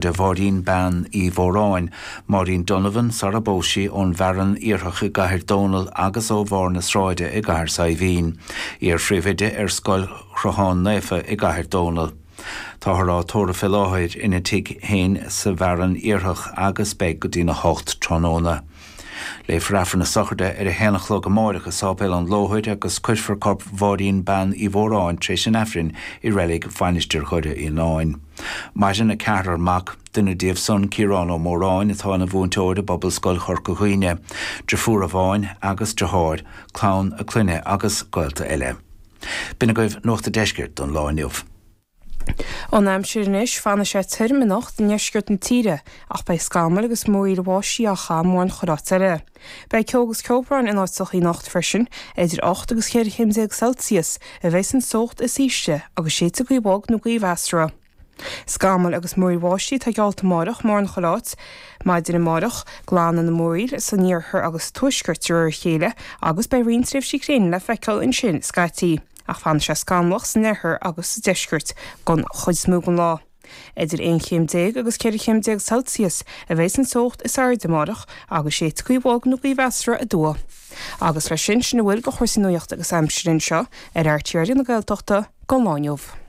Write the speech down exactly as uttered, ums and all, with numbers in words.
de Mháirín Bean Uí Mhóráin, Máirín Donovan sara bpós sí ón bhFearann Iarthach i gCathair Dónall agus ó bharr na sráide i gCathair Saidhbhín. Iar-phríomhoide ar Scoil Chrotháin Naofa i gCathair Dónall. Táthar á tórramh fé láthair ina tigh féin sa bhFearann Iarthach agus beidh go dtína hocht tráthnóna. Léifear Aifreann na sochraide ar a haon a chlog amárach i Sáipéal an Lóthair agus cuirfear corp Mháirín Bean Uí Mhóráin tar éis an Aifrinn i reilig Mhainistir Dhoire Fhíonáin. Maireann a ceathrar mac, duine díobh san Ciarán Ó Móráin atá ina mhúinteoir i bPobalscoil Chorca Dhuibhne, deirfiúr amháin agus deartháir, clann a clainne agus gaolta eile. B'in agaibh Nuacht an Deiscirt don lá inniu. An aimsir anois fanfaidh sé tirim anocht i ndeisceart na tíre ach beidh scamaill agus múraíl bháistí á chaitheamh mórán chuile áit eile. Beidh ceo agus ceobhrán in áiteacha anocht freisin, idir ocht agus ceithre chéim déag Celsius a bheidh an teocht is ísle agus séidfidh gaoth bhog nó gaoth mheasartha. Scamaill agus múraíl bháistí atá geallta amárach mórán chuile áit. Maidin amárach, glanfaidh na múraíl san iarthar agus tuaisceart de réir a chéile agus beidh roinnt tréimhsí gréine le feiceáil ansin scaití. Ach fanfaidh sé scamallach san oirthear agus sa deisceart don chuid is mó den lá. Idir aon chéim déag agus ceithre chéim déag Celsius a bheidh an teocht is airde amárach agus séidfidh gaoth bhog nó gaoth mheasartha aduaidh. Agus leis sin sin a bhfuil de chúrsaí nuachta agus aimsire anseo ar RTÉ Raidió na Gaeltachta don lá inniu.